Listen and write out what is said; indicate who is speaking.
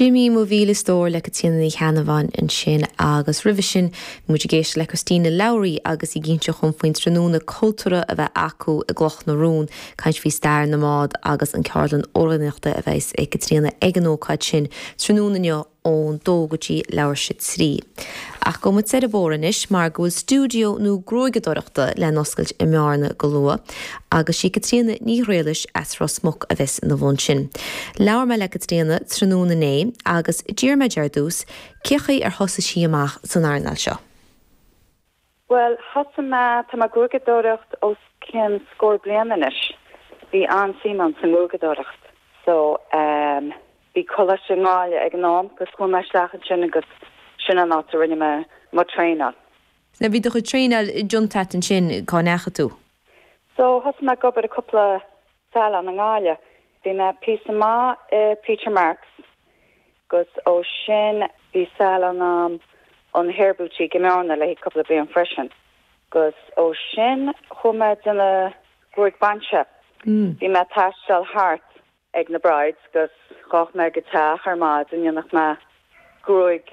Speaker 1: Jimí Mo Mhíle Stór le Caitríona Ní Cheannabháin ansin agus roimhe sin bhí muid ag éisteacht le Christina Lowry agus í ag inse dhom faoin tráthnóna cultúrtha a bheidh acu i gCloch na Rón, caint faoi stair na mbád agus an ceardlann amhránaíochta a bheas ag Caitríona ag an ócáid sin tráthnóna inniu ón dó go dtí leathuair théis a 3. Ach gabhfaidh muid soir an bóthar anois mar go bhfuil stiúideo nua gruaigeadóireachta le n-oscailt i mBearna go luath agus sí Caitríona Ní Ghriallais as Ros Muc a bheas ina bhun sin. Labhair mé le Caitríona tráthnóna inné agus d'iarr mé di ar dtús cé chaoi ar thosaigh sí amach san earnáil seo.
Speaker 2: Bhuel, thosaigh mé, tá mé ag gruaigeadóireacht os cionn scór bliain anois. Bhí an-suim agam sa ngruaigeadóireacht. So, ehm, bhí coláiste i nGaillimh ag an am agus chuaigh mé isteach ansin agus sin an áit a rinne mé mo traenáil.
Speaker 1: Now, bhí do chuid traenáil déanta agat ansin, cá ndeachaigh tú?
Speaker 2: So, thosaigh mé ag obair i cúpla salon i nGaillimh. Bhí mé píosa maith i Peter Marks Agus ó sin bhí salon a'm an Hair Boutique i mBearna le haghaidh cúpla bliain freisin. Agus ó sin chuaigh mé ag déanamh gruaig bainse. Bhí mé ag taisteal thart ag na brides agus ghabhadh mé go teach ar maidin dhéanfadh mé gruaig.